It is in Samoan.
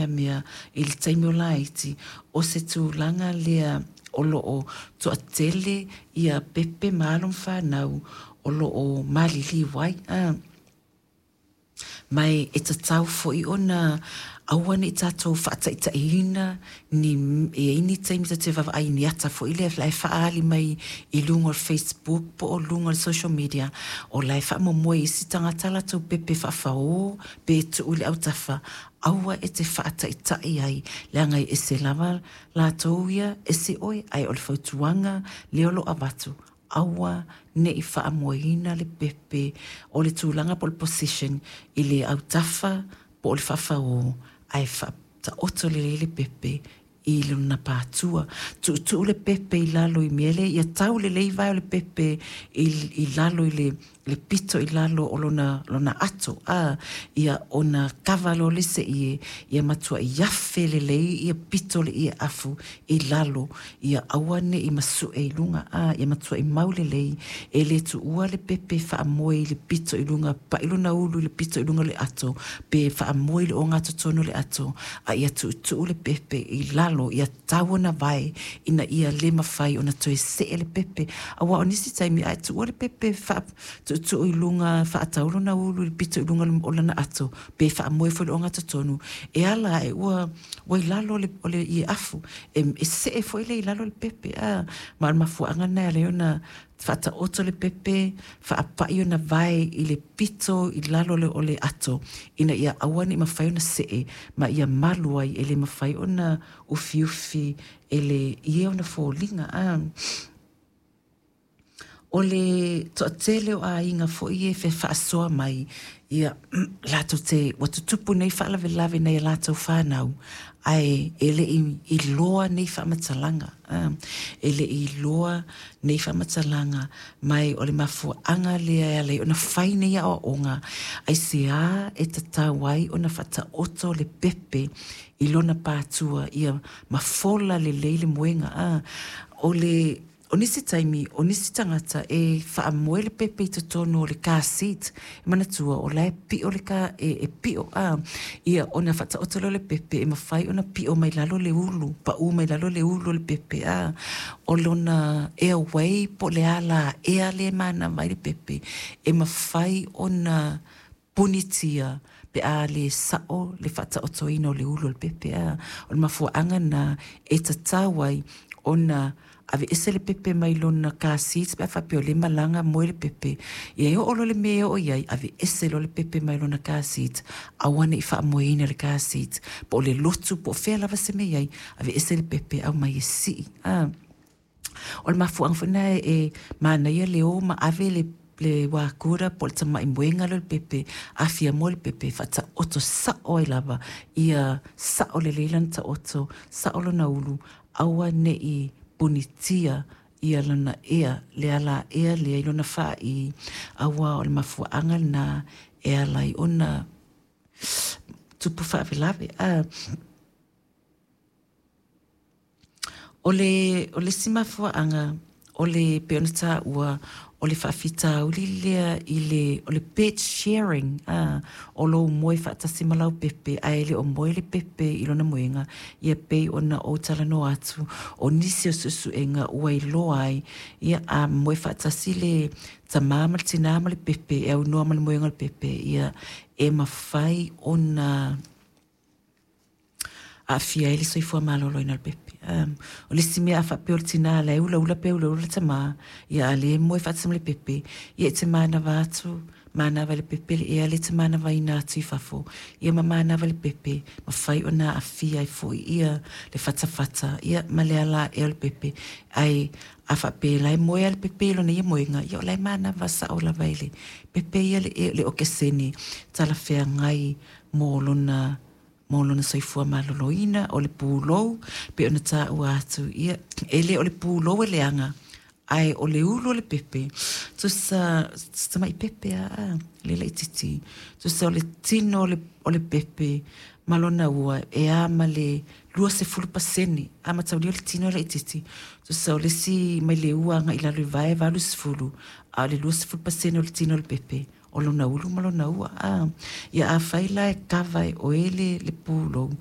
meamea i le taimi o laiti, o se tulaga lea o lo o toatele ia pepe ma alo ma fanau o lo o maliliu ai. Ma e tatau foi ona aua ne i tatou faataitaiina ni e i ai ni taimi tatou te vaavaai i ni ata foi lea la e faaali mai i luga o le Facebook po o luga o le social media o la e faamomoe isi tagata latou pepe faafao pe tuu i le autafa. Aua e te faataitai ai, leaga e ese lava latou ia, ese oe, ae o le fautuaga lea o lo o avatu, aua ne i faamoeina le pepe o le tulaga po o le position i le autafa po o le faafao, ae faataoto lelei le pepe i lona patua. Tuutuu le pepe i lalo i mea lea, ia tau lelei vae o le pepe i lalo i le pito i lalo o lona ato, a ia ona kava loa le seie, ia matuai afe lelei ia pito o le ie afu i lalo, ia aua ne i masue i luga, a ia matuai mau lelei, e le tuua le pepe faamoe i le pito i luga, pai lona ulu i le pito i luga o le ato, pe faamoe i le ogatotonu o le ato, a ia tuutuu le pepe i lalo, ia tau ona vae ina ia le mafai ona toe see le pepe. Aua o nisi taimi a e tuua le pepe tuutuu i luga, faatau lona ulu i le pito i luga o lana ato, pe faamoe foi i le ogatotonu, e ala ae ua i lalo o le ie afu, e see foi lea i lalo le pepe. A ma o le mafuaaga lena e ala ai ona faataoto le pepe, faapai ona vae i le pito i lalo o le ato, ina ia aua ne i mafai ona see, ma ia malu ai, e le mafai ona ufiufi e le ie ona foliga. A o le toatele o aiga foi e faasoa mai, ia latou te ua tutupu nei faalavelave nai a latou fanau, ae e le i iloa nei faamatalaga, e le i iloa nei faamatalaga, ma o le mafuaaga lea e ala ai ona fai nei aoaoga, aisea e tatau ai ona faataoto le pepe i lona patua ia mafola lelei le moega. A o le O nisi taimi, o nisi tagata e faamoe le pepe i totonu o le car seat, e manatua o la e pio le car, e pio a, ia ona faataoto lea o le pepe e mafai ona pio mai lalo le ulu, pau mai lalo le ulu o le pepe a, o lona airway po o le ala ea lea e manava ai le pepe, e mafai ona punitia pe a le sao le faataotoina o le ulu o le pepe. A o le mafuaaga lena e tatau ai ona aveese le pepe mai lona car seat pe a faapea o lea e malaga moe le pepe, ia e oo loa le mea e oo i ai, aveese loa le pepe mai lona car seat, aua ne i faamoeina le car seat po o le lotu po o fea lava se mea i ai, aveese le pepe aumai e sii. A o le mafuaaga foi lena e manaia le o ma ave le wakura po o le tamai moega lea o le pepe, afia moe le pepe, faataoto sao ai lava, ia sao lelei lana taoto, sao lona ulu, aua ne i punitia ia lona ea, le ala ea lea i lona faai, aua o le mafuaaga lena e ala ai ona tupu faalavelave. A o le o le isi mafuaaga o le pei ona taua o le faafitauli lea i le o le bed sharing, a o lou moe faatasi ma lau pepe ae le o moe le pepe i lona moega, ia pei ona ou talanoa atu o nisi o suesuega ua iloa ai, ia a moe faatasi le tama ma le tina ma le pepe e aunoa ma le moega o le pepe, ia e mafai ona aafia ai le soifua maloloina o le pepe. O le isi mea a faapea o le tina la e ulaula pe ulaula le tama, ia a lē moe faatasi ma le pepe, ia e te manava atu, manava i le pepe le ea lea e te manavaina atu i fafo, ia ma manava le pepe, mafai ona aafia ai foi ia le fatafata, ia ma le ala ae o le pepe. Ae a faapea la e moe lava le pepe i lona ia moega, ia o la e manava sao lava i le pepe ia le okesene talafeagai mo lona soifua maloloina. O le pulou pei ona taua atu, ia e le o le pulou e leaga, ae o le ulu o le pepe, tusa tamai pepe a le laitiiti, tusa o le tino o le pepe ma lona ua e a ma le 20%, a mataulia o le tino e laitiiti, tusa o le isi mai le ua agai i lalo i vae 80, a o le 20% o le tino o le pepe o lona ulu ma lona ua. A ia afai la e kava e oe le pulou,